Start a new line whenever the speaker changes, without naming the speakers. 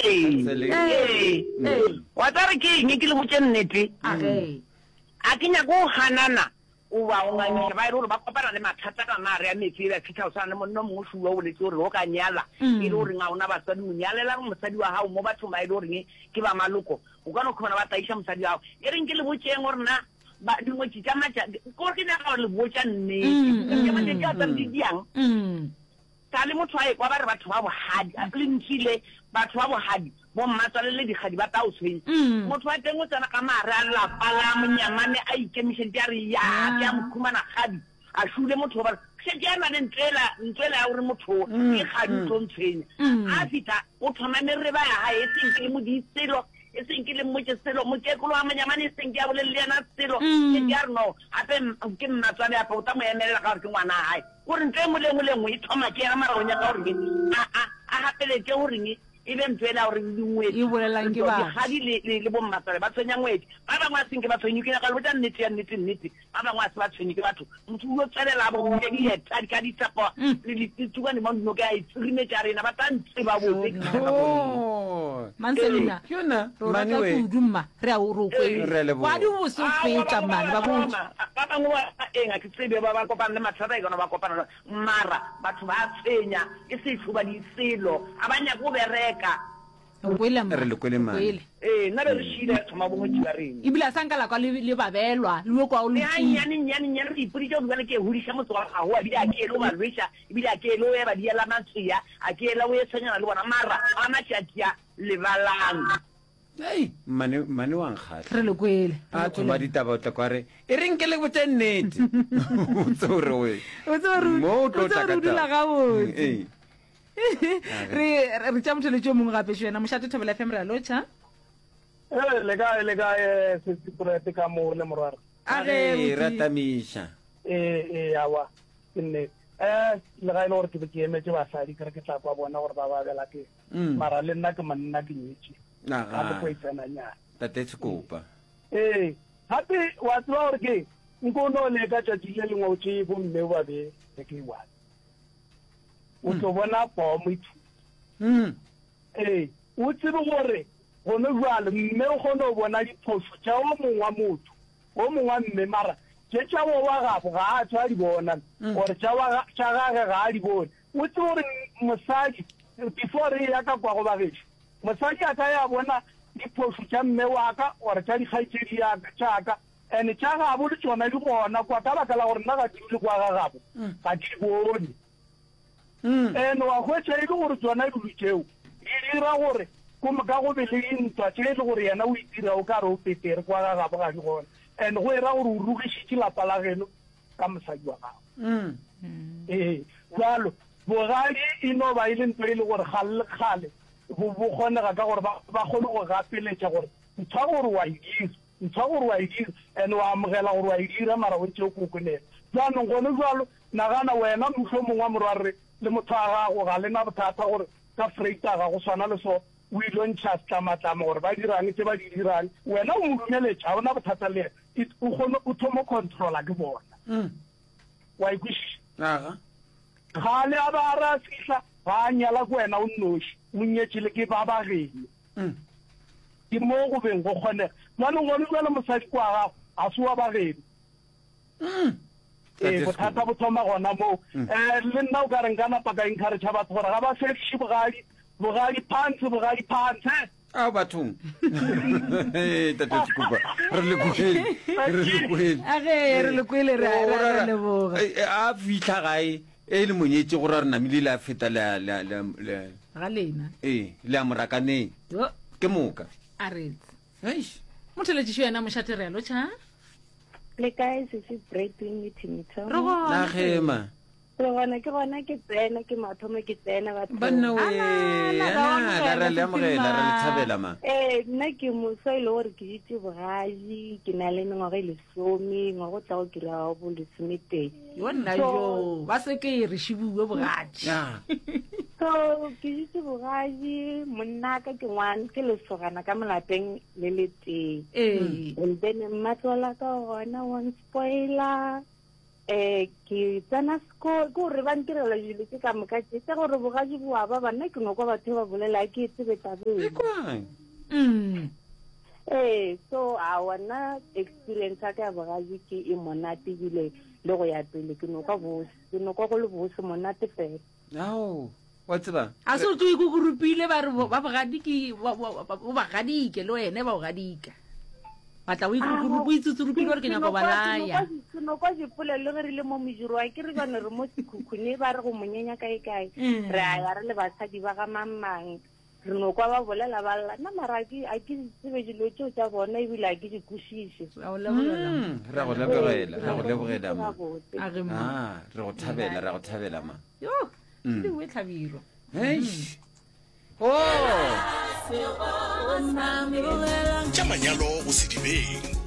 Ee,
Sele-
ee.
Ee.
Wa tseba re ke eng ke le botše nnete?
A ge.
A ke nyake go ganana goba go ngangiša ba e le gore ba kopana le mathata ka mare a meetse e ba fihla go swana le monna o mongwe šuwa o boletše gore o ka nyala e le goreng ga o na basadi o nyalela mosadi wa gago mo bathong ba e le goreng ke ba maloko o ka no khona ba tlaiša mosadi wa gago e reng ke le botšeng gore na ba dingwetši tša matša ko ke nyaka gore le botša nnete tša matšatši a tsare di diang Sa le motho a ekwa ba re batho ba bogadi, lentši le, batho ba bogadi, bommatswale le dikgadi ba tla o tshwenya. Motho wa teng o tsena ka mare a lapa la monyamane a ikemišeditše a re, Yaa, ke a mo khumana kgadi. A šule motho o ba re, Šetše a na le ntlo ela, ntlo ela ya gore motho o ke kgadi o tlo ntshwenya. A fihla o thoma mereba ya gae, e seng ke le mo di selo, e seng ke le mmotše selo, mokekolo wa monyamane e seng ke a bolele le yena selo, šetše a re no, gape ke mmatswale gape o tla mo emelela ka gore ke ngwana wa gae. Gore ntho e nngwe le nngwe le nngwe e thoma ke yena mara o nyaka gore a a a gapeletše goreng e be ntho ela gore dingwetši
E bolelang ke batho.
dikgadi le le le bommatswale ba tshwenya ngwetši. Ba bangwe a senke ba tshwenywe ke nyaka le botša nnete ya nnete nnete. Ba bangwe a se ba tshwenye ke batho. Motho o yo tswelela a bo dieta di ka ditsepo le ditsukwane mo noka ya e tsirimetša rena ba tla ntseba botse ke nyaka gore.
Oh.
Manselina.
Ke yona,
Re o
mane
rata
we.
kudu mma. Re a o re o kwele.
Re a leboga.
Wa di bose o feta mane ba botse.
Ba bangwe ba eng a ke tsebe ba ba kopana le mathata e kana ba kopana le mara batho ba tshwenya e se hloba di selo a ba nyake go bereka.
Re kwele mma.
Re le kwele mane.
Kwele.
Ee nna be re šile re thoma bongwetši ba rena.
Ebile a sa nka la kwa le le babelwa le yo kwa o
Le
lokile.
gannyane nnyane nnyane re ipoditše gore bjale ke hodiša motse wa gago ebile a ke ele o ba lweša ebile a ke ele o eba diela matswea a ke ele o e tshwenyana le bona mara a matšatši a lebalang.
Hei, mmane, mmane wa nkgahla.
Re le kwele.
A thoma ditaba o tla kwa re, e reng ke le botše nnete. O tsebe gore we.
O tsebe gore
Mo o tlo
o tsebe
tla
gore
ka
o dula
taba.
gabotse.
Ee.
Re re tša motho yo mongwe gape šo yena mošate Thobela FM re a lotšha.
Ee, le kae le kae sesi Purete ka mo le morware.
A ge
Ee, re
botse.
atamiša.
Ee, ee, awa, ke nnete. Eh, le ga e le gore ke be ke emetše basadi ke re ke tla kwa bona gore ba babela ke.
Mm.
Mara le nna ke monna ke nyetše.
Aga.
Ga ke tlo e tsena nyana.
Tate Sekopa.
Ee, gape wa tseba gore ke nko o no leka tšatši le lengwe o tšee bomme o ba bee le ke one. O tlo bona pomo e thunya.
Mm.
Ee, o tsebe gore gone bjale mme o kgone go bona diphošo tša o mongwe wa motho, o mongwe wa mme, mara tše tša wo wa gabo ga a tšwa a di bona, or tša wa tša gage ga a di bone. O tsebe gore mosadi, before re eya ka kwa go bagešo, mosadi a ka ya bona diphošo tša mme wa ka or tša dikgaetšedi ya ka, tša ka, and tša gabo le tšona di gona kwa, ka baka la gore nna ga ke dule kwa ga gabo, ga ke di bone. And wa hwetša e le gore tšona dilo tšeo di dira gore ko moka go be le dintwa tše e le gore yena o itira o ka re o petere kwa ga gabo ga di gona, and go era gore o rugišitše lapa la geno ka mosadi wa gago. Ee, bjalo bogadi e no ba e le ntho e le gore kgale le kgale bo bo kgonega ka gore ba ba kgone go gapeletša gore ntho ya gore wa e dira, ntho ya gore wa e dira and wa amogela gore wa e dira mara o ntše o kokonela. Bjanong gone bjalo nagana wena mohlomong wa morwarre le motho wa gago ga le na bothata gore ka Vrydag go swana le so o ilo ntšha setlamatlama gore ba dirang tše ba di dirang wena o mo dumeletše ga o na bothata le yena it o kgone o thomo controla ke bona wa e kwešiša
Aga.
Kgale a ba a re a fihla ga a nyala ke wena o nnoši o nyetše le ke ba ba geno ke mo go beng go kgonega bjanong gone bjale mosadi kwa gago ga se wa ba geno Ee, bothata bo thoma gona moo. Um le nna o ka re nka napa ka encourage batho gore ga ba fediše bogadi, bogadi phantshe, bogadi phantshe.
Ao bathong. Tate Sekupa, re le kwele, re le kwele.
A ge re le kwele re a re a leboga.
A fihla gae e le monyetše gore a re namile le a feta le le le
ga lena.
Ee, le a morakaneng. Ke moka.
A retse.
Eish.
Motheletšišo yena mošate re a lotšha.
Le kae sesi Bradwin le Timito?
Re gona.
Na gema.
Re gona ke gona ke tsena ke mathomo ke tsena batho.
Banna we.
Ala,
Ala,
ala,
ra le amogela, ra le thabela ma.
Eh nna ke moswa e le gore ke ditse bogaji ke na le mengwaga e lesome ngwaga o tlago ke ra bo lesometee.
Yo nna yo ba se ke re šibuwe bogaji.
Ya.
So ke ditse bogaji monna ka ke ngwana ke lesogana ka molapeng le le tee.
Ee.
And then mmatlola ka gona wa nspoiler. Eh, ke tsena seko, ke gore ba ntirela dilo tše ka moka tše, tša gore bogadi bo a baba, nna ke no kwa batho ba bolela, ga ke e tsebe taba eno.
Ekwang.
Mm.
Ee, so aowa nna experience ya ka ya bogadi ke e monate ebile le go ya pele ke no kwa bose, ke no kwa go le bose monate fela.
Ao, wa tseba.
A se o tlo ikukurupile ba re ba bogadiki ba ba ba gadike le wene ba o gadika. Batla o ikukurupa o itsutsurupile gore ke nyako ba laya.
Ke no kwa dipolelo ge re le mo mojiro wa ke re bane re mo sekhukhune ba re go monyenya kae kae.
Mm.
Re a ya re le basadi ba ga mang mang. Re no kwa ba bolela ba lla. Nna mara a ke a ke di tsebe dilo tšeo tša bona ebile a ke di kwešiše.
Re a go lebogela.
Mm, re a go lebogela, re a go lebogela ma.
Gabotse.
A re ma.
Ah, re go thabela, re a go thabela ma.
Yo, ke dingwe tlhabirwa.
Eish. Oh.
Tša manyalo go sedibeng.